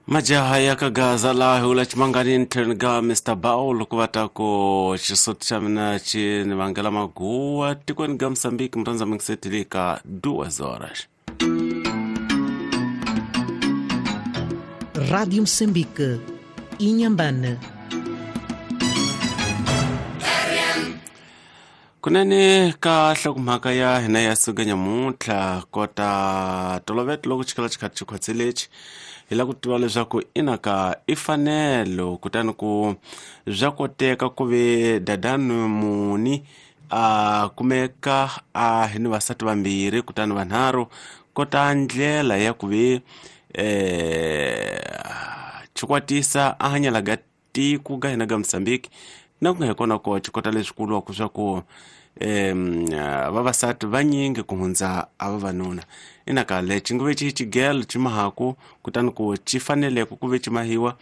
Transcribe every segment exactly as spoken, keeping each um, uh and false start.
Majaha ya ka Gaza laha hi vula Chimanganini tlhelo ka Mister Baul ku va ta ku xisoti xa mina xi ni vangela maguwa tikweni ga Mozambique murhandza mingiseteli ka duas horas. Rádio Moçambique, Inhambane. Kunene ka nhlokomhaka ya hina ya siku nyamuntlha kota toloveto loko xikala xi kha xi khwatselexi hi lava ku tiva leswaku inaka i fanelo kutani ku bya koteka ku ve dadani muni a kumeka a hi ni vasati vambirhi kutani vanharhu kota ndlela ya ku ve eh xikwatisa a hanyela ga tiko ga hina ga Mozambique na ku nga hi kona ko xi kota leswi kuliwaka swa ku um vavasati vanyingi ku hundza a vavanuna inaka lexi ngo ve xi xigelo xi mahaku kutani ku xi faneleke ku ve xi mahiwa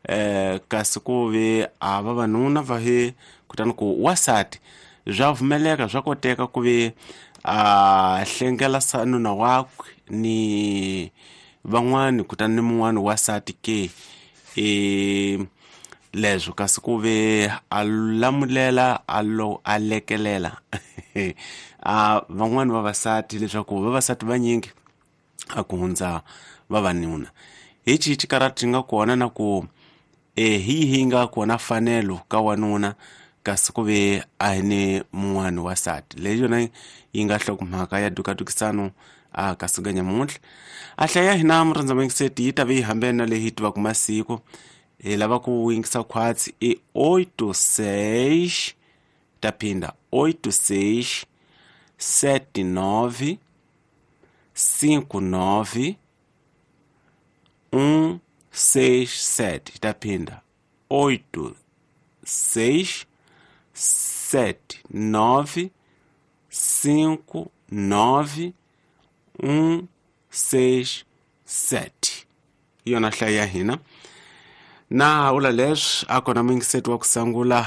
um kasi ku ve a vavanuna va he kutani ku wasati bya pfumeleka swa koteka ku ve a hlengela nuna wakwe ni van'wani kutani ni mun'wani wasati ke e leswo kasi ku ve a lamulela a lo a lekelela a van'wani vavasati leswaku vavasati vanyingi a ku hundza vavanuna hi xihi xikarati xi nga kona na ku e hi yihi nga kona fanelo ka wanuna kasi ku ve a hi ni mun'wani wasati leyi yona yi nga nhlokomhaka ya dukadukisano a ka siku nyamuntlha a hlaya hina murhandza mingiseti yi ta ve yi hambene na leyi hi tivaka masiku hi lava ku yingisa khwatsi i oito seis ta phinda oito seis sete nove cinco nove um seis sete ta phinda oito seis sete nove cinco nove um seis sete hi yona hlaya ya hina na ula leswi a kona muyingiseti wa ku sungula.